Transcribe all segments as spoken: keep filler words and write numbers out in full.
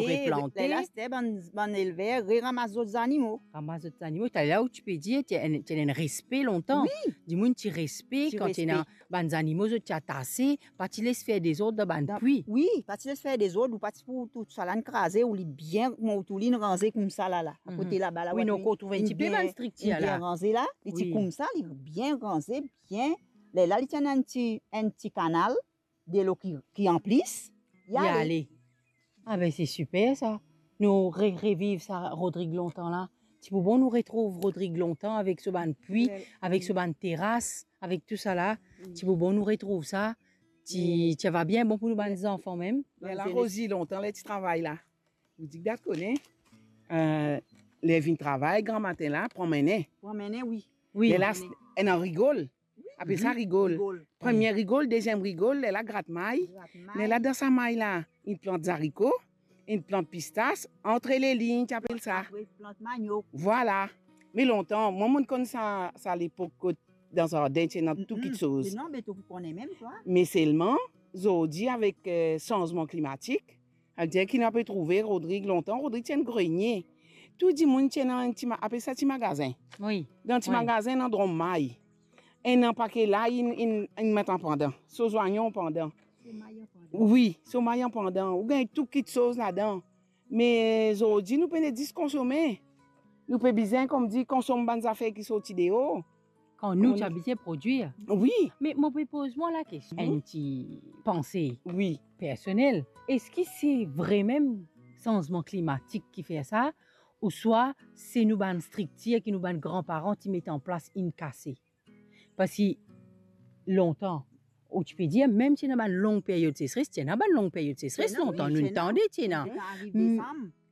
replante. Lerla, aster bann, bann elver reramas zot zanimo. Ramas zot zanimo. Taler ou ti pe dir, ti ena, ti ena enn respe lontan. Wi. Dimoun ti respe kan ti ena bann zanimo zot ti atase, pa ti les fer dezord dan bann pwi. Wi, pa ti les fer dezord, ou pa ti pou tou sa la inn kraze, ou li bien, kouma ou tou li inn ranze koumsa la, la. Akote laba la, wi, ou inn trouv enn tipe bann striktir la. Bien ranze la, li ti koumsa, li bien ranze, bien. Lerla, li ti ena enn ti, enn ti kanal, delo ki, ki anplis, li ale. Ah ben, se siper sa. Nou re-, reviv sa Rodrig lontan la. Ti pou bon nou retrouv Rodrig lontan avek so bann pwi, avek so bann teras, avek tou sa la. Ti pou bon nou retrouv sa. Ti, ti ava bien bon pou nou bann zanfan mem. Lerla Rozi, lontan ler ti travay la. Ou dir, gard kone, eh, ler vinn travay, gramatin la, pran mene. Pran mene, wi. Wi. Lerla, ena rigol. Apel sa rigol. Rigol. Premie rigol, deziem rigol, lerla grat may. Grat may. Lerla dan sa may la, inn plant zariko, inn plant pistas, antre lelign, ti apel sa. Apre plant maniok. Vwala. Me lontan, mwa, mo'nn konn sa, sa lepok kot dan zardin, ti ena tou kitsoz. Non, be to pou kone mem, twa. Me selman, zordi, avek, eh, sanzman klimatik, savedir ki nou pe trouve Rodrig lontan, Rodrig ti enn grenie. Tou dimoun ti ena enn ti ma-, apel sa ti magazin. Wi. Dan ti magazin, ena drom may. Ena pake lay, inn, inn, inn met anpandan. So zwayon anpandan. So may anpandan. Wi, so may anpandan. Ou gagn tou kitsoz ladan. Me zordi, nou pena zis konsome. Nou pe bizin, kouma dir, konsom bann zafer ki sorti deor. Kan nou ti abitie prodwir. Wi. Me mo pe poz mwa lakestion, enn ti panse personnel. Eski se vremem sanzman klimatik ki fer sa, ouswa se nou bann striktir ki nou bann granparan ti met an plas inn kase? Parski lontan, ou ti pe dir, mem ti ena bann long period sesres, ti ena bann long period sesres lontan, nou tande ti ena.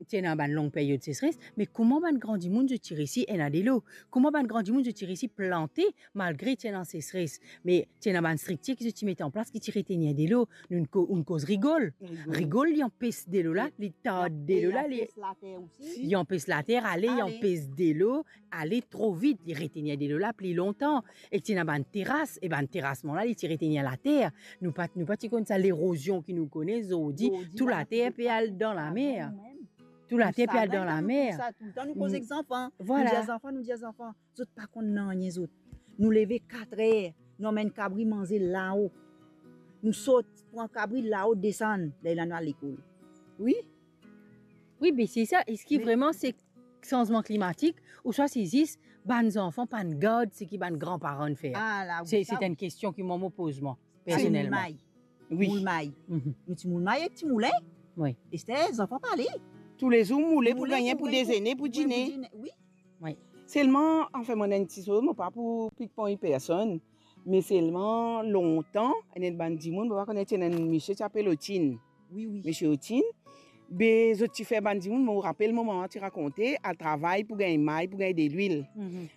Ti ena bann long period sesres, me kouma bann gran dimoun zot ti resi ena delo? Kouma bann gran dimoun zot ti resi plante malgre ti ena sesres? Me ti ena bann striktir ki zot ti met an plas ki ti retenir delo. Nou, nou ko-, nou koz rigol. Rigol. Rigol, li anpes delo la, li tard delo la, li anpes later ale, li anpes delo ale tro vit, li retenir delo la pli lontan. Ek ti ena bann teras, e bann terasman la, li ti retenir later. Nou pa, nou pa ti konn sa lerozion ki nou kone zordi, tou later pe al dan lamer. Tou later pe al dan lamer. Toultan nou koz ek zanfan. Vwala. Nou dir zanfan, nou dir zanfan, zot pa konn nanye zot. Nou leve katrer, nou amenn kabri manze lao. Nou sot, pran kabri lao, desann, lerla nou al lekol. Wi. Wi, be se sa. Eski vreman se sanzman klimatik, ouswa se zis bann zanfan pa'nn gard seki bann granparan fer? Se, se enn kestion ki mwa mo poz mwa, personelman. Wi. Moul may. Nou ti moul may ek ti moulen. Wi. Ester, zanfan pa ale. Toulezour moule pou gagne, pou dezene, pou dine. Wi. Wi. Selman, anfin, mo ena enn ti soz, mo pa pou pikponn personn, me selman lontan, ena enn bann dimoun, mo pa kone, ti ena enn misie ti apel Otin. Wi, wi. Misie Otin. Be, zot ti fer bann dimoun, mo rapel mo mama ti rakonte, al travay pou gagn may, pou gagn delwil.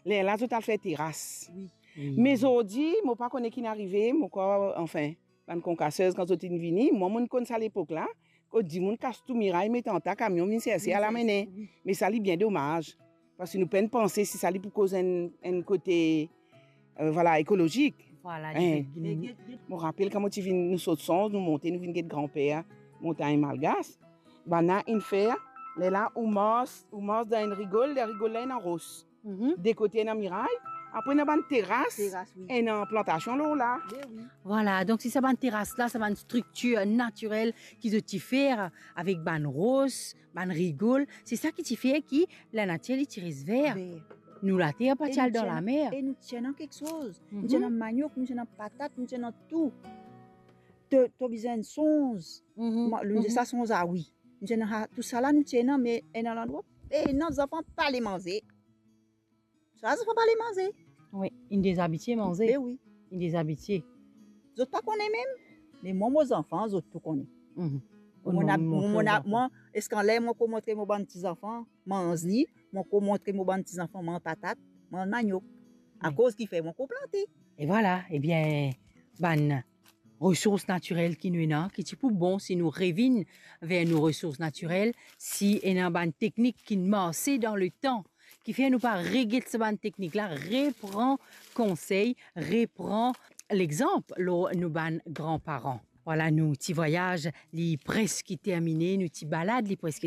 Lerla zot al fer teras. Wi. Me zordi, mo pa kone ki'nn arive, mo krwar, anfin, bann konkasez, kan zot inn vini, mwa, mo'nn konn sa lepok la, kot dimoun kas tou miray, met antak, kamion vinn serse, al amene. Wi. Me sa, li bien domaz. Parski nou pa'nn panse si sa li pou koz enn, enn kote, eh, vwala, ekolozik. Vwala, mo rapel kan mo ti vinn, nou sot Sanz, nou monte, nou vinn get granper Montagn Malgas. Bann la inn fer, lerla ou mars, ou mars dan enn rigol, ler rigol la ena ros. De kote ena miray, apre ena bann teras, ena plantasion lor la. Vwala, donk se sa bann teras la, sa bann striktir natirel ki zot ti fer avek bann ros, bann rigol, se sa ki ti fer ki lanatir li ti res ver. Nou later pa ti al dan lamer. E nou ti ena kiksoz. Nou ti ena maniok, nou ti ena patat, nou ti ena tou. To, to bizin sonz. Mwa, nou dir sa sonz, a wi. Nou ti ena, tousala nou ti ena, me ena landrwa, e ena zanfan pa le manze. Sa zanfan pa le manze. Wi, inn dezabitie manze. Be wi. Inn dezabitie. Zot pa kone mem, me mwa, mo zanfan, zot tou kone. Mwa, mwa, eski anler mwa ko montre mo bann ti zanfan manz li, mwa ko montre mo bann ti zanfan manz patat, manz maniok. Akoz kifer mwa ko plante. E vwala, ebien, bann resours natirel ki nou ena, ki ti pou bon si nou revinn ver nou resours natirel, si ena bann teknik ki marse dan letan, kifer nou pa reget sa bann teknik la, repran konsey, repran lexanp lor nou bann granparan. Vwala, nou ti vwayaz li preski termine, nou ti balad li preski